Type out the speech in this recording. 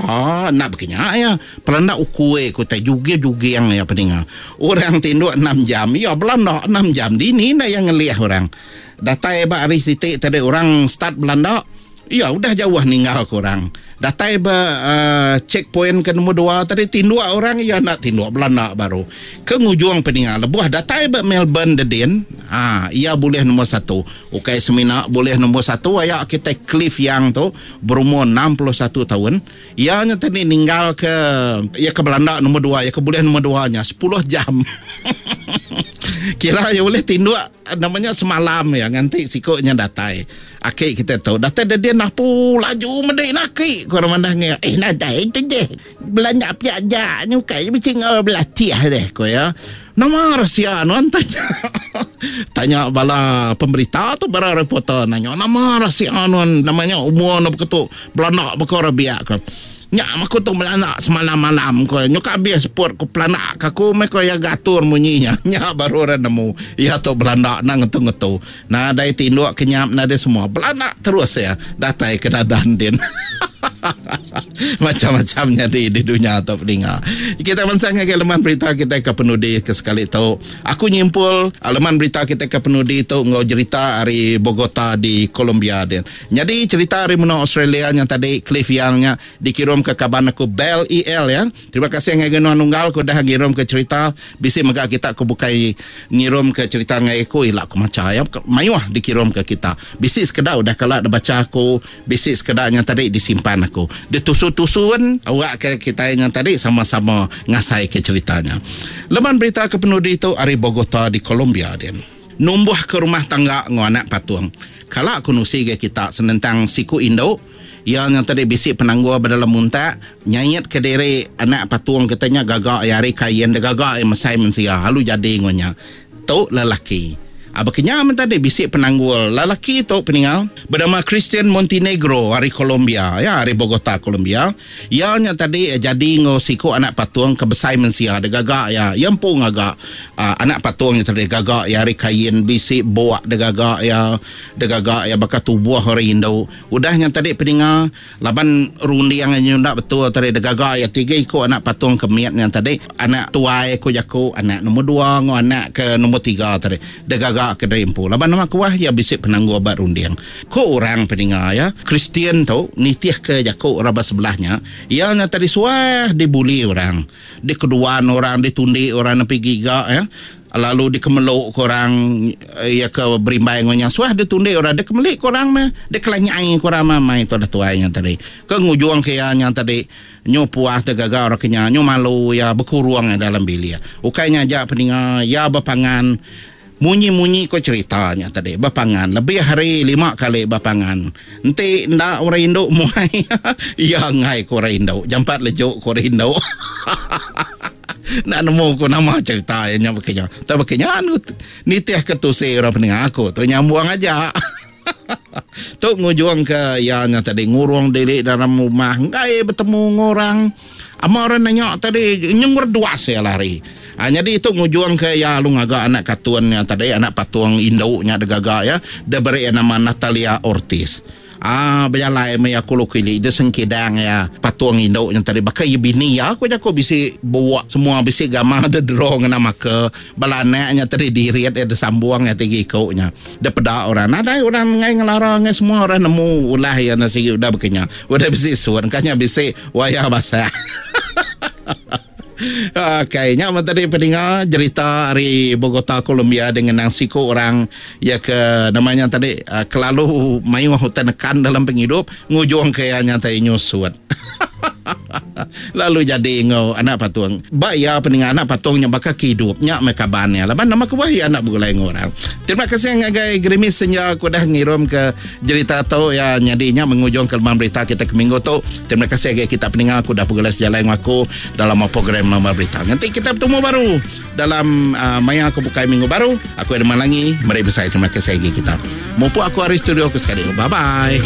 Enda bekinya iya. Pelanda ukui ku tai juging-juging iya peninga. Orang tinduk enam jam, iya belanda enam jam. Dini enda iya ngelih orang. Datai ba hari siti tadi orang start belanda, iya udah jauh ninggal ke orang. Datai ba uhh check point ke nombor dua tadi tinduk orang iya enda tinduk belanda baru. Ke ngujung peninga lebuh datai ba Melbourne dedin aa iya bulih nombor satu. Ukai semina bulih nombor satu aya kitai Cliff Young tu berumur 61 taun. Iya nya tadi ninggal ke iya ke belanda nombor dua iya ke bulih nombor dua nya sepuluh jam. Kira iya ulih tinduk nama nya semalam iya nganti siku nya datai. Aki kita tu datai dedin apu laju medi ne aki ku orang mandah ngi eh nadai tu deh belanja pia aja nyukai bisi enggau belatih deh ku iya. Nama rahsia nuan tanya tanya bala pemberita tu bala reporter nanya nama rahsia nuan nama nya umur ne beketu belanda baka orang biak ko. Nya aku tu belanda semalam malam ko nyuka abis seput ku pelanda ka aku meh ko iya gatur munyi nya. Nya baru orang nemu iya tu belanda enda ngetu ngetu. Nadai tinduk kenyap nadai semua belanda terus iya datai ke dadan din. Macam-macam nyadi di dunya tu peninga. Kita mansang ngagai leman berita kitai ke penudi ke sekali tu. Aku nyimpul leman berita kitai ke penudi tu enggau jerita ari Bogota di Colombia din. Nyadi cherita ari menua Australia nya tadi Cliff Young nya dikirum ke kaban aku Bell EL ya. Terima kasih ngagai nuan unggal ke udah ngirum ke cherita. Bisi mega kita ke bukai ngirum ke cherita ngagai aku ila aku macha ya. Mayuh dikirum ke kita. Bisi sekeda udah kala dibacha aku, bisi sekeda nya tadi disimpan aku. Ditusun-tusun awak ke kitai nya tadi sama-sama ngasai ke cherita nya. Leman berita ke penudi tu ari Bogota di Colombia din. Numbuh ke rumah tangga enggau anak patung. Kala aku nusi ga kita senentang siku indu iya nya tadi bisi penanggul ba dalam untak nyait ke diri anak patung kita nya gaga iya ari kain da gaga iya mesai mensia lalu jadi enggau nya. Tu lelaki. Aba kenya men tadi bisi penanggul lelaki tu peninga benama Christian Montenegro ari Colombia ya ari Bogota Colombia. Iya nya tadi jadi enggau siku anak patung ke besai mensia digaga iya. Iya empu ngaga anak patung nya tadi digaga iya ari kain bisi buk digaga iya, digaga iya baka tubuh orang indu. Udah nya tadi peninga laban runding iya nyunda betul tadi digaga iya tiga iku anak patung ke mit nya tadi, anak tuai ku jaku, anak nombor dua enggau anak ke nombor tiga tadi digaga ke diri empu laban nama kebuah iya bisi penanggul ba runding. Ku orang peninga iya, Kristian tu nitihka jaku orang ba sebelah nya, iya nya tadi suah dibuli orang, dikeduan orang, ditundi orang nepi giga iya, lalu dikemeluka orang iya ke berimbai enggau nya suah ditundi orang, dikemelika orang meh, dikelanyai orang meh mai tudah tuai nya tadi. Ke ngujungka iya nya tadi nyu puas digaga orang ke nya, nyu malu iya bekurung iya dalam bilik. Ukai nya aja peninga iya bepangan. Munyi-munyi ko cherita nya tadi bepangan lebih ari lima kali bepangan. Enti enda orang indu muai iya enggai ko orang indu jampat leju ko orang indu. Enda nemu ko nama cherita iya nya baka nya. Tang baka nya anu nitih ke tusi orang peninga aku tu nyambung aja. Tu ngujung ke iya nya tadi ngurung diri dalam rumah enggai betemu enggau orang. Ama orang nanya tadi nyenggur duas iya lari. Ha, nyadi tu ngujung ke iya lalu ngaga anak katun nya tadi anak patung indu nya digaga iya diberi iya nama Natalia Ortiz. Ah bejalai meh iya kulu kili dia sengkidang iya patung indu nya tadi baka iya bini iya ku jaku bisi buak semua bisi gamal dia draw ngena marker bala anak nya tadi dirit iya disambung iya tiga iku nya. Dipeda orang nadai orang enggai ngelara enggai semua orang nemu ulah iya enda sigi udah baka nya. Udah bisi sun engka nya bisi wayar basah. Okey, nya meh tadi peninga jerita ari Bogota, Colombia dengan nang siku orang iya ke nama nya tadi kelalu mayuh utai nekan dalam pengidup ngujung ke iya nya tadi nyusut. Lalu jadi enggau anak patung. Ba iya peninga anak patung nya baka ke idup nya meh kaban iya laban nama kebuah iya enda begulai enggau orang. Terima kasih ngagai Gerimis Senja ke udah ngirum ke jerita tu iya nyadi nya mengujung ke leman berita kita ke minggu tu. Terima kasih ngagai kita peninga ke udah begulai sejalai enggau aku dalam program leman berita. Nganti kita betemu baru dalam uh, maya ke bukai minggu baru. Aku Edmund Langi meri besai terima kasih ngagai kita. Mupuk aku ari studio aku sekali. Bye bye.